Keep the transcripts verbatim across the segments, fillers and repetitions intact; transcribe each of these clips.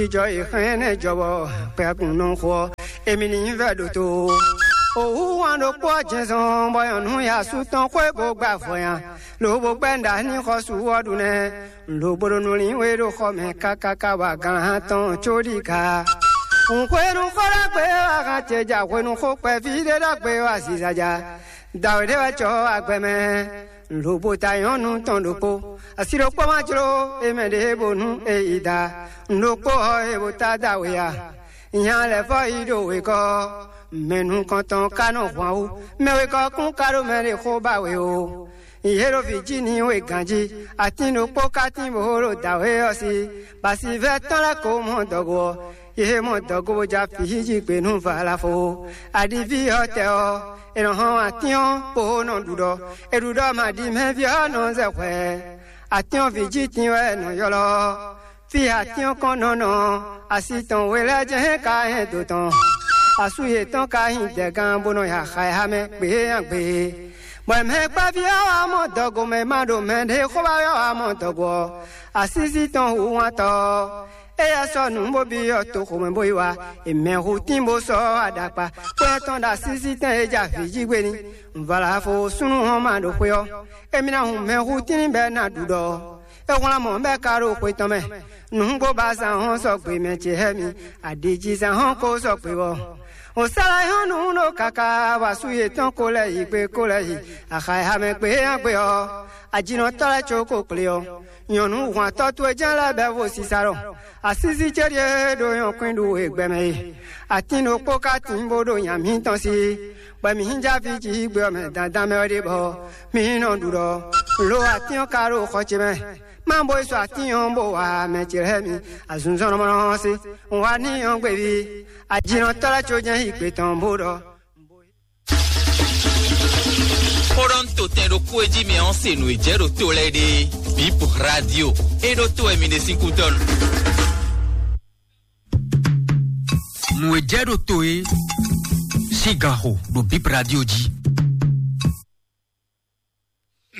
Jijɔ e xlɛ́n nɛ́ jɔ bɔ kpɛkun nɔ xo ɔ́, emi ní nyí vɛ ɖo to. Ohu wán ɖokpó ɔ́ jɛnzɔn bɔ nyɔ̌nu ya asú tɔn xwé bó gbá vɔ̌ nya, lobo gbɛ́ nǔɖa ní xɔsu ɔ́ ɖu nɛ́. Lobo ɖo nǔ lin we ɖo xɔ mɛ kákáká bɔ aglǎn tɔn có ɖi ka. Nǔxwenu xó ɖagbe wá hán ce ja hwenu xó kpɛví ɖé ɖagbe wá ziza ja. Dǎwe ɖé wɛ cɔ agbɛ mɛ. Lobo ta nyɔ̌nu tɔn ɖokpó. Asi ɖokpó ma jló e mɛ ɖě bónú e yi da. Nǔɖokpó ɔ́ e bó ta da we a? Nya lɛ̌ fɔ yi ɖo wegɔ́. Mɛ nukɔntɔn ka nɔ hwan wú. Mɛ wegɔ́ kún ka ɖo mɛ ɖě xó ba we o. Yě ɖo vǐ jí ní we ganjí. Atín ɖokpó ka tín bó ɖo dǎwe ɔ́ sí. Basivɛ́ tɔn lɛ́ ko mɔ dɔgo ɔ́. Yě mɔ dɔgo bó ja fǐ jí gbe nú Valafo. Aɖiví ɔ́ tɛ ɔ́, è nɔ hɔn atín ɔ́ bó nɔ ɖuɖɔ. È ɖuɖɔ maɖimɛví ɔ́ nɔ zɛ hwɛ. Atín ɔ́ vǐ jí tín wɛ è nɔ ylɔ́. Fí e atín ɔ́ kɔn nɔ nɔ, asi tɔn we lɛ́ɛ jɛ hɛn ka hɛn dǒ tɔn. Asú yětɔn ka nyí dɛgán bó nɔ ya xa ɛ xá mɛ gběnyagbě. Bɔ mɛ kpɛví ɔ́ wá mɔ dɔgomɛ ma ɖo mɛ ɖě xó ba wɛ wá mɔ dɔgo ɔ́, asísí tɔn hu wántɔ́ ɔ́. Éyɛ́ sɔ́ nǔ bó byɔ́ toxo mɛ bó yi wá, è mɛ hu tín bó sɔ́ aɖakpa. Kpɛ́n tɔn ɖo asísí tɛn e ja vǐ jí gbé ní. Vǎlafo súnnu hɔn ma ɖo xwé ɔ́, émí ná hun mɛ hu tín bɛ́ ná ɖuɖɔ ɔ́. É hwlán mɔ̌ bɔ é ka ɖo xwe tɔn mɛ. Nǔgbó ba zán hɔn sɔgbe mɛ ce hɛ́ mi, aɖǐjizán hɔn ko sɔgbe bɔ. O sala hɔn nǔ ɖo kaka bɔ asú yětɔn ko lɛ́ yi gbe ko lɛ́ yi, axa e ha mɛ gbe é nya gbe ɔ́, ajinɔtɔ́ lɛ́ɛ có ko kplé ɔ́. Nyɔ̌nu hwantɔ́ towe jɛ́n lɛ́ɛ bɛ́ vo sisa ɖɔ asísí ce ɖíe ɖo nyɔ̌kwín ɖu e gbɛmɛ e. Atín ɖokpó ka tín bó ɖo nya mǐtɔn sí, bɔ mǐ hín já fí jí gbe ɔ́ mɛ dandan mɛ wɛ ɖe bɔ mǐ nɔ ɖu ɖɔ lo atín ɔ́ ka ɖo xɔ ce mɛ. Má bó yi sɔ atín ɔ́ bó wa mɛ ce lɛ́ɛ mi azunzɔnnɔmɔnɔ ɔ́ sí. Un wá ní ɔ́ gbeví ajínɔtɔ́ lɛ́ɛ có jɛ́n yi gbe tɔn bó ɖɔ. Xó ɖɔ ń to tɛn ɖokpó e jí mi ɔ́ se nǔ e jɛ ɖo to lɛ́ɛ ɖe. Bip Radio e ɖo to wɛ mi ɖe sín kútɔ́ nu. Nǔ e jɛ ɖo to e sín gan xo ɖo Bip Radio jí.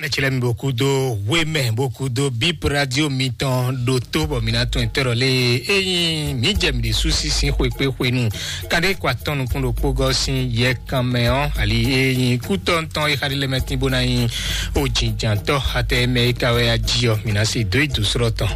Mɛtsilɛ mi boku do wemɛ boku do Bip Radio mitɔn ɖo to bɔ mi na tún ɛtɛrɔ lé eyin mi jɛ mi ɖe susi sin xwekpe xwenu. Kade kɔ atɔn nukun ɖokpó gɔ sin yɛ kan mɛ ɔ ali eyin kutɔntɔn e xali lɛ mɛ tin bo na yin o jinjantɔ atɛ mɛ e ka wɛ aji ɔ mi na se do idu srɔ tɔn.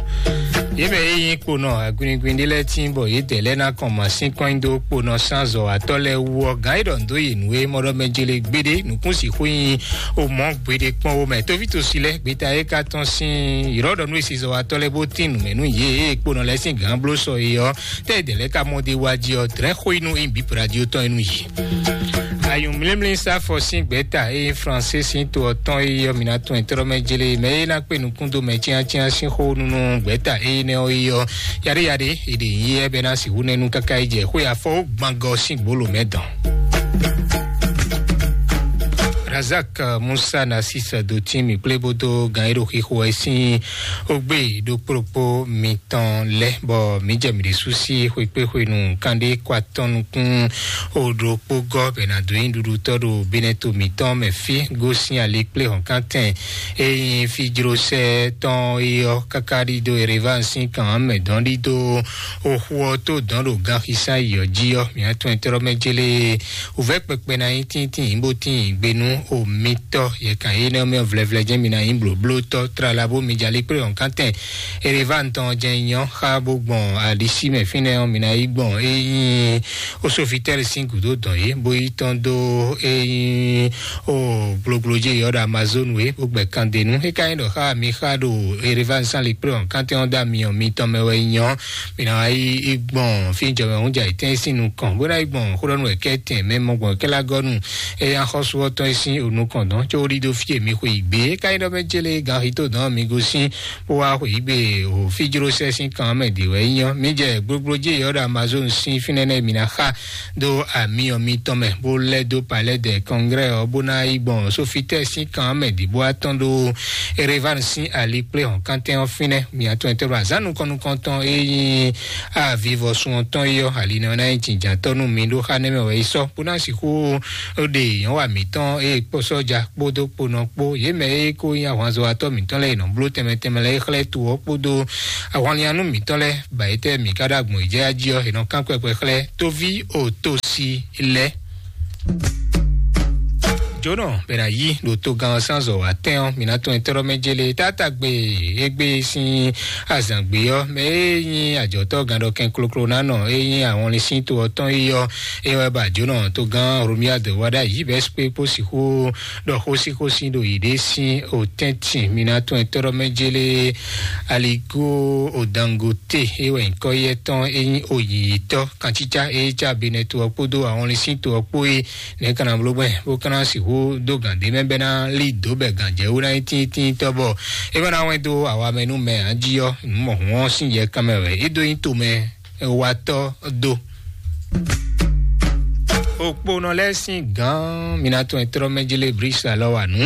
Ye mɛ eyin kponɔ aguniguni ɖe lɛ tin bɔ ye dɛ lɛ na kɔn ma sin kɔn do kponɔ san zɔ atɔ lɛ wu ɔ gan e ɖɔ ndo ye nu e mɔ ɖɔ mɛ jele gbede nukun si xo yin o mɔ gbede kpɔn wo mɛ tovitosi lɛ gbeta e ka tɔn sin yɔrɔ ɖɔ nu e si zɔ atɔ lɛ bo tin nu mɛ nu ye e kponɔ lɛ sin gan blo sɔ ye ɔ tɛ dɛ lɛ ka mɔ de wa ji ɔ drɛ xo inu in bi radio tɔn inu yi. Ayun mlimli sa fɔ sin gbeta e français sin to ɔtɔn e yɔ mina tɔn ɛtrɔ mɛ jele mɛ e na kpe nukun do mɛ tiantian sin xo nunu gbeta e nɛ ɔ yi ɔ yade yade e ɖe yi ɛ bɛ na si wu nɛnu kaka yi jɛ xo ya fɔ gbangɔ sin gbolo mɛ dɔn. Razak Musa na sisa do tin mi kple bodo gan e ɖo xixo ɛ sin ogbe ɖo kplokpo mitɔn lɛ bɔ mi jɛ mi ɖe susi xwekpe xwenu kande kɔ atɔn nukun o ɖokpo gɔ bɛ na do nyi ɖuɖutɔ ɖo benɛto mitɔn mɛ fi gosin ali kple hɔnkantɛn eyin fi jrosɛ tɔn eyɔ kaka ɖido erevan sin kan mɛ dɔn ɖido oxu ɔ to dɔn ɖo ganxisa yi ɔ ji ɔ miatɔn ɛtɔrɔ mɛ jele. Wǔvɛ́ kpɛkpɛ ná nyí tíntín bó tín gbe nú omitɔ́ yɛkan énɛ́ mɛ vlɛvlɛ jɛ́n mi ná nyí blǒblótɔ́ tlala bó mi jalí kplé ɔ́ kántɛn. Erevantɔn jɛ́n nyɔ́ xá bó gbɔn alisi mɛ fínɛ́ ɔ́ mi ná yí gbɔn ényí osofitɛ́li sín gǔdo dɔn yě bó yí tɔ́n dó ényí o gblogblo jɛ yɔ́ ɖo amazonu é bó gbɛ kandenu é ka nyí ɖɔ xá mi xá ɖo erevantɔn sán li kplé ɔ́ kántɛn ɔ́ dó amiyɔn mitɔn mɛ wɛ nyɔ́. Mi ná wá yi gbɔn fí jɔmɛ hún jà yǐtɛ́n sín nukɔn bó ná yi gbɔn xó ɖɔ nú wɛ kɛ́tɛn mɛ mɔ gbɔn kɛ́lá gɔ́ nu. Eya xɔ́sú ɔ́ tɔn e sín onukɔn dɔn có ɖi dó fí e mi xwe yi gbé ká nyí ɖɔ mɛ jélé gan xi tó dɔn mi gosín bó wá xwe yi gbé o fí jló sɛ́ sín kan mɛ dě wɛ nyí ɔ́ mi jɛ gblogblo jé yɔ́ ɖo amazon sín fínɛ́ nɛ́ mi ná xa dó amiyɔ mitɔn mɛ bó lɛ́ dó palɛ́ dɛ kɔngrɛ́ ɔ́ bó ná yi gbɔn sófítɛ́ sín kan mɛ dě bó wá tɔn ɖó erevanu sín ali kplé hɔn kántɛn ɔ́ fínɛ́. Miatɔn e tɔ́ ɖo azǎn nukɔn nukɔntɔn e nyí avivɔsun ɔ́ tɔn é ɔ́, ali nɔ ná nyí jǐnjǎntɔ́ nú mi ɖó xá nɛ́ mɛ wɛ é sɔ́, bó ná sixú ɖe nyɔ̌wa mǐtɔn e kpó sɔ́ja kpódó kponɔ kpó, yě mɛ e ko nyí ahwanzɔ́watɔ́ mǐtɔn lɛ́ɛ e nɔ bló tɛnmɛ tɛnmɛ lɛ́ɛ é xlɛ́ to ɔ́ kpódó ahwanlinnyanú mǐtɔn lɛ́ɛ, bɔ yě tɛ́ mǐ ka ɖo agbɔ̌n yi jɛ jí ɔ́, è nɔ kán kpɛkpɛ xlɛ́ tóví otosi lɛ́ɛ. Jónɔ bɛ ná yí ɖo togán ɔ́ sín azɔ̌ wa tɛn ɔ́, mǐ ná tɔn nyitɔ́ ɖɔ mɛ jélé. Tátágbe égbé sín azǎngbe ɔ́, mɛ e nyí ajɔ̌tɔ́ gán ɖɔ kɛn kloklo ná nɔ e nyí ahɔnlin sín to ɔ́ tɔn yi ɔ́, é wɛ ba jónɔ togán Romuald wá ɖ'ayǐ bɔ é kpó sixú ɖɔ xósíxósí ɖo yěɖée sín otɛ́ntin. Mǐ ná tɔn nyitɔ́ ɖɔ mɛ jélé. Aligo Odangote, é wɛ nyǐkɔ yɛ tɔn e nyí oyǐyítɔ́ kancícá e cá Benɛto ɔ́ kpódó ahɔnlin sín to ɔ́ kpó é. Nɛ̌ ka ná bló gbɛn bó ka ná sixú dó gǎn ɖé mɛ bɛ́ ná lí dǒ bɛ gǎnjɛwú ná nyí tíntínntɔ́ bɔ é wɛ ná wɛn dó awa mɛ nú mɛ ǎ jí ɔ́, nǔ mɔ̌hun ɔ́ sín yɛ kanmɛ wɛ é dó nyí tomɛ watɔ́ dó. Okponɔ lɛ́ɛ sín gǎn mǐ ná tɔn trɔ́ mɛ jélé Brisa lɔ wa nǔ.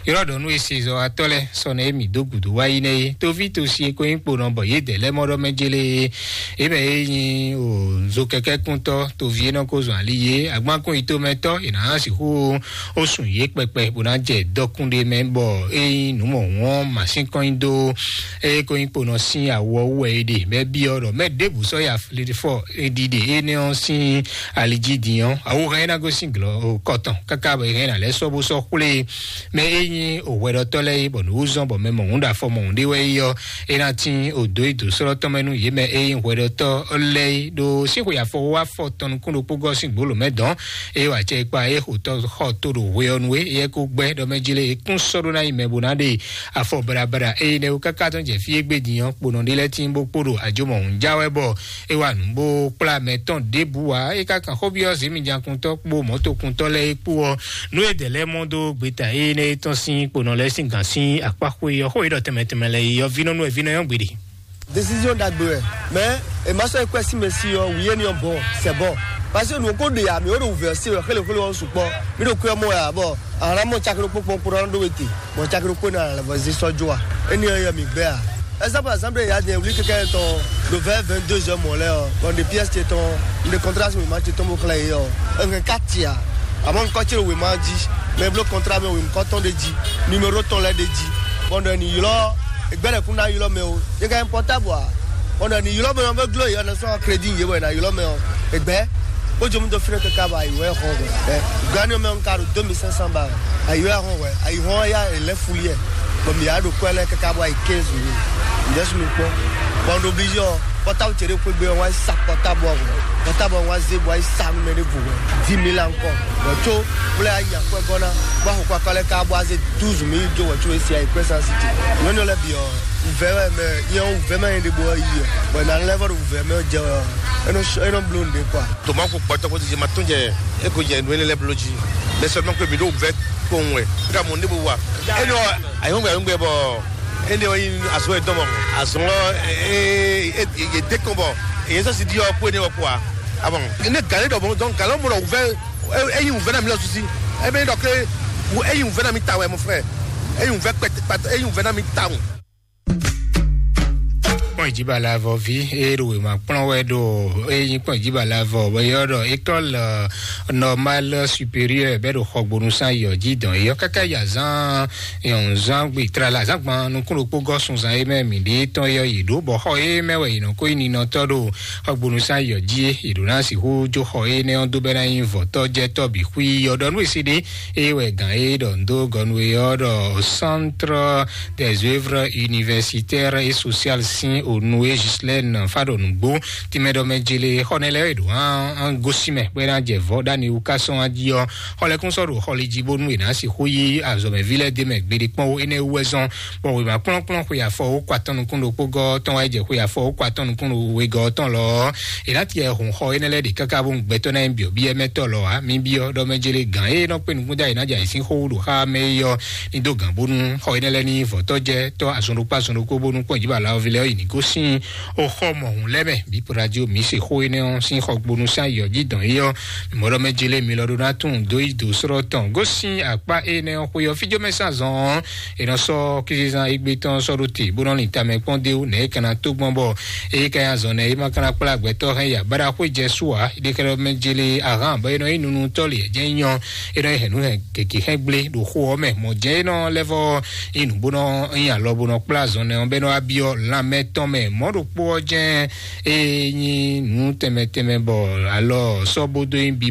Ylɔ́ ɖɔ nú esezɔ́watɔ́ lɛ́ɛ sɔ́nɛ e mǐ dó gǔdo wá yi nɛ́ é. Toví tosi e ko nyí kponɔ bɔ yědɛɛ lɛ́ɛ mɔ ɖɔ mɛ jélé é. É mɛ e nyí o zo kɛkɛ́kúntɔ́ toví e nɔ ko zɔn ali yé agbankún yitomɛtɔ́ è nǎ sixú ó sùn yě kpɛkpɛ bó ná jɛ dɔkún ɖé mɛ bɔ é nyí nǔ mɔ̌hun ɔ́ masín kɔn nyi dó eye ko nyí kponɔ sín awɔ wú wɛ é ɖe mɛ byɔ́ ɖɔ mɛ ɖěbǔ sɔ́ ya fɔ ɖiɖe énɛ́ ɔ́ sín ali jí din ɔ́, awu hɛn é ná gosín glɔ́ kɔtɔn káká bɔ é hɛn ná lɛ́ sɔ́ bó sɔ́ xwlé mɛ e nyí òhwɛɖɔtɔ́ lɛ́ɛ é bɔ nǔ wú zɔ́n bɔ mɛ mɔ̌hun ɖo afɔ mɔ̌hun ɖé wɛ é ɔ́, é ná tín òdó yi dǒ sɔ́lɔ́tɔ́ mɛ nú yě mɛ e nyí hwɛɖɔtɔ́ lɛ́ɛ é ɖo sín xwe afɔ wá fɔ tɔn nukún ɖokpó gɔ́ sín gbǒlǒ mɛ dɔn. Eye wǎ cɛ kpa é xotɔ xɔ tó ɖo hwe ɔ́ nu é, éyɛ́ kó gbɛ́ ɖɔ mɛ jí lé é kún sɔ́ ɖó ná yi mɛ bó ná ɖe afɔ braɖabraɖa eye nɛ́ wú káká tɔn jɛ fí égbé din ɔ́, kponɔ ɖé lɛ́ɛ tín bó kpo ɖo ajomɔhun já wɛ bɔ é wa nǔ bó kplá mɛ tɔn ɖěbǔ wá. É ka kan xó byɔ́ zěmijakuntɔ́ kpó mɔ̌tokuntɔ́ lɛ́ɛ é kpó ɔ́, nú é dɛ̌ lɛ́ɛ mɔ dó gbeta énɛ́ é tɔn sín kponɔ lɛ́ɛ sín gǎn sín akpá xwé ɔ́, xó é ɖɔ tɛnmɛ tɛnmɛ lɛ yi ɔ́, vínɔ́ nú wɛ vínɔ́ nyɔ́ gbeɖe. Décision ɖagbe wɛ. Mais e ma sɔ ekwe si mɛ si ɔ, wu yé ni ɔ bɔ c'est bon. Parce que nous ko de ya mi o do ouvert si xele xele ɔ sukpɔ. Mi do kwe mɔ ya bɔ ara mɔ chakro kpokpo kpo ran do wete. Bon chakro kpo na la voisin so joa. Eni ɔ yɛ mi gbɛ a. Esa par exemple ya de wuli keke tɔn do vingt vingt-deux heures mɔ lɛ ɔ. Bon de pièce te tɔn de contrat mi ma te tɔn bo xlɛ yi ɔ. Un ka tia. Amɔ nkɔ tiro we ma di. Mais blo contrat mi we nkɔ tɔn de di. Numéro tɔn lɛ de di. Bon de ni ylo. Egbɛlɛ kun na ylo mɛ o. Ye ka portable a. Ɔnɔ ni ylɔ mɛ ɔn bɛ glo yɔ ne sɔn crédit ye wɛ na ylɔ mɛ ɔn. Egbɛ. Ó jọ mi dɔ fínɛ kaka bɔ ayi wɛ hɔn wɛ. Ɛ gani mɛ ɔn ka ɖo deux mille cinq cents ba. Ayi wɛ hɔn wɛ. Ayi hɔn ya elɛ fuli yɛ. Bɔn mi ya ɖo kɔ lɛ kaka bɔ ayi quinze mille. Ǹjẹ́ sunu kpɔn. Bɔn ɖo obligé ɔ. Pɔtabu cɛ ɖe kpegbe ɔn wa sa pɔtabu ɔn. Pɔtabu ɔn wa ze bɔ ayi sa numɛ ɖe vo wɛ. Dix mille ankɔ. Bɔn tso wlɛ ayi akwɛ gɔna. Bɔ afɔ kɔ akɔ lɛ ka bɔ aze douze mille jo wɛ tso esi ayi kwɛ san siti. Nyɔnu lɛ bi ɔ. Wuvɛ wɛ mɛ yɛn wuvɛ ma yɛn de bɔ yi ɔ bɔ na lɛ vɔ do wuvɛ mɛ jɛ ɔ. Eno sh- eno blo nde kwa. Toma ko kpɔtɔ ko ti ma tɔn jɛ. Eko jɛ nu ele lɛ blo ji. Mais seulement que mi do wuvɛ ko wɛ ka mo ne bo wa. Eno ayɔngbɛ ayɔngbɛ bɔ ene o yin aso e dɔn bɔ aso e e de kɔn bɔ e sɔ si di ɔ ko ene wɔ kwa. Ah bon. Ne gale dɔ bon donc gale mo dɔ wuvɛ e yin wuvɛ na mi lɔ susi. E bɛ dɔ ke e yin wuvɛ na mi ta wɛ, mon frère. E yin wuvɛ kpɛtɛ kpɛtɛ e yin wuvɛ na mi ta wɛ. Kpɔn ìjìbá la vɔ ví e ɖo wěma kplɔ́n wɛ ɖo e nyí kpɔn ìjìbá la vɔ bɔ yɔ ɖɔ école normale supérieure bɛ ɖo xɔgbonu san yɔ jí dɔn yɔ káká yà zán yɔn zán gbe tra la zán gban nukún ɖokpó gɔ sunzan e mɛ mi ɖe tɔn yɔ yi ɖo bɔ xɔ e mɛ wɛ yi nɔ ko yi ninɔtɔ ɖo xɔgbonu san yɔ jí e yi ɖo na sixú jó xɔ e nɛ ɔn dó bɛ na nyi vɔtɔ jɛ tɔ bi xui yɔ ɖɔ nú esi ɖe e wɛ gan e ɖɔ ndo gɔnu e yɔ ɖɔ centre des œuvres universitaires et sociales sin onu e Ghislaine Fadonugbo. Timɛ ɖɔ mɛ jele xɔ nɛ lɛ e ɖo an an gosi mɛ bɔ ena jɛ vɔ ɖani wu ka sɔn aji ɔ xɔ lɛ kún sɔ ɖo xɔli ji bónú ena si xó yi azɔmɛvi lɛ de mɛ gbeɖe kpɔn wo enɛ wu wɛ zɔn. Bɔ wema kplɔnkplɔn xwe afɔ wo kɔ atɔn nukún ɖokpó gɔ tɔn wa jɛ xwe afɔ wo kɔ atɔn nukún ɖo wegɔ tɔn lɔ ena tiɛ hun xɔ enɛ lɛ ɖe kaka bó gbɛtɔ na yin biɔ biɛ mɛtɔ lɔ a mi biɔ ɖɔ mɛ jele gan e nɔ kpe nukún da ena jɛ ayisin xó ɖo xa mɛ yɔ ni do gan bónú xɔ enɛ lɛ ni vɔtɔ jɛ tɔ azɔn ɖokpó azɔn ɖokpó bónú kpɔn jiba la ɔvi lɛ yi ni go sín oxɔ mɔhun lɛ́ mɛ. Bí radio mi se xó énɛ́ ɔ́ sín xɔgbónú sín ayɔ jí dɔn yi ɔ́, mɔɖɔ mɛ jele mi lɔ ɖó ná tún dó yi dó srɔ́ tɔn gosín akpá énɛ́ ɔ́ xwé ɔ́ fíjó mɛ sín azɔn ɔ́, è nɔ sɔ́ kízízán égbé tɔn sɔ́ ɖó te bó nɔ lin tamɛ kpɔ́n dé wú nɛ̌ é ka ná tó gbɔn bɔ é ka nyi azɔn nɛ́ é ma ka ná kplá gbɛtɔ́ hɛn ya báɖa xwé jɛ sú ǎ. Ɖékɛ́ɖɔ mɛ jele ahán bɔ é nɔ nyí nunu tɔ́ lě jẹ́ nyɔ é nɔ hɛn nǔ hɛn gěgé hɛn gblé ɖo xó ɔ́ mɛ. Mɔ̌ jɛ́n é nɔ lɛ́ vɔ nyí nǔ bó nɔ nyí alɔ bó nɔ kplá azɔn nɛ́ ɔ́ bɛ́ nɔ wá byɔ́ lanmɛ tɔn mɛ. Mɔ̌ ɖokpó ɔ́ jɛ́n é nyí nǔ tɛnmɛ tɛnmɛ bɔ alɔ sɔ́ bó dó nyí bi